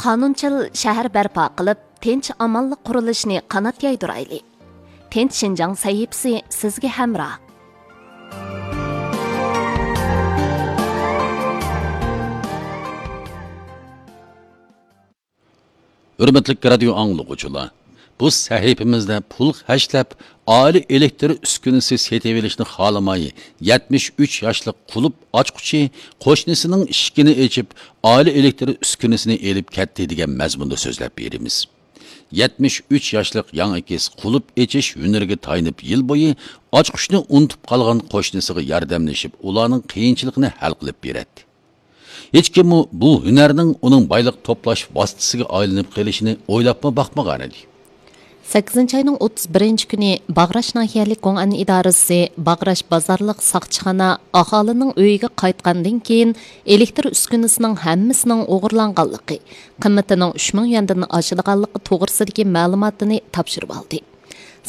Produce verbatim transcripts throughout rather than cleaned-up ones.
قانۇنچىل شەھەر بەرپا قىلىپ، تىنچ-ئامانلىق قۇرۇلۇشىنى قانات يايدۇرايلى. تىنچ شىنجاڭ سەھىپىسى سىزگە ھەمراھ. ھۆرمەتلىك رادىيو ئاڭلىغۇچىلار، بۇ سەھىپىمىزدە پۇل خەجلەپ، ئائىلە ئېلېكتىر ئۈسكۈنىسى سېتىۋېلىشنى خالىماي، يەتمىش ئۈچ ياشلىق قۇلۇپ ئاچقۇچى قوشنىسىنىڭ ئىشىكىنى ئېچىپ، ئائىلە ئېلېكتىر ئۈسكۈنىسىنى ئېلىپ كەتتى دېگەن مەزمۇندا سۆزلەپ بېرىمىز. يەتمىش ئۈچ ياشلىق ياڭ ئېكىس قۇلۇپ ئېچىش ھۈنىرىگە تايىنىپ، يىل بويى ئاچقۇچنى ئۇنتۇپ قالغان قوشنىسىغا ياردەملىشىپ، ئۇلارنىڭ قىيىنچىلىقىنى ھەل قىلىپ بېرەتتى. ھېچكىممۇ بۇ ھۈنەرنىڭ ئۇنىڭ بايلىق توپلاش ۋاسىتىسىگە ئايلىنىپ قېلىشىنى ئويلاپمۇ باقمىغانىدى. سەككىزىنچى ئاينىڭ ئوتتۇز بىرىنچى كۈنى باغراش ناھىيەلىك گوڭئەن ئىدارىسى باغراش بازارلىق ساقچىخانا ئاھالىنىڭ ئۆيىگە قايتقاندىن كېيىن، ئېلېكتىر ئۈسكۈنىسىنىڭ ھەممىسىنىڭ ئوغرىلانغانلىقى، قىممىتىنىڭ ئۈچ مىڭ يۈەندىن ئاشىدىغانلىقى توغرىسىدىكى مەلۇماتنى تاپشۇرۇۋالدى.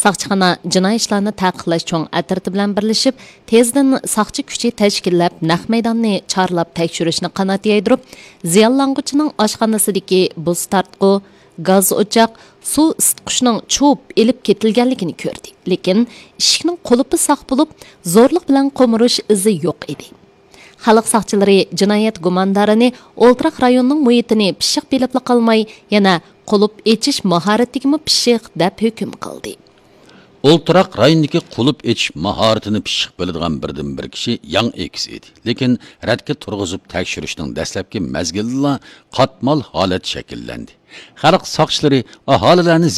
ساقچىخانا جىنايى ئىشلارنى تەقىقلەش چوڭ ئەترىتى بىلەن بىرلىشىپ، تېزدىن ساقچى كۈچى تەشكىللەپ، نەق مەيداننى چارلاپ تەكشۈرۈشنى قانات يايدۇرۇپ، زىيانلانغۇچىنىڭ ئاشخانىسىدىكى بۇز تارتقۇ، گاز ئوچاق، سۇ ئىسىتقۇچنىڭ چۇۋۇپ ئېلىپ كېتىلگەنلىكىنى كۆردى. لېكىن ئىشىكنىڭ قۇلۇپى ساق بولۇپ، زورلۇق بىلەن قومۇرۇش ئىزى يوق ئىدى. خەلق ساقچىلىرى جىنايەت گۇماندارىنى ئولتۇراق رايونىنىڭ مۇھىتىنى پىششىق بىلىپلا قالماي، يەنە قۇلۇپ ئېچىش ماھارىتىگىمۇ پىششىق دەپ ھۆكۈم قىلدى. ئولتۇراق رايوندىكى قۇلۇپ ئېچىش ماھارىتىنى پىششىق بىلىدىغان بىردىنبىر كىشى ياڭ ئېكىس ئىدى. لېكىن رەتكە تۇرغۇزۇپ تەكشۈرۈشنىڭ دەسلەپكى مەزگىلىدىلا قاتمال ھالەت شەكىللەندى. خەلق ساقچىلىرى ئاھالىلەرنى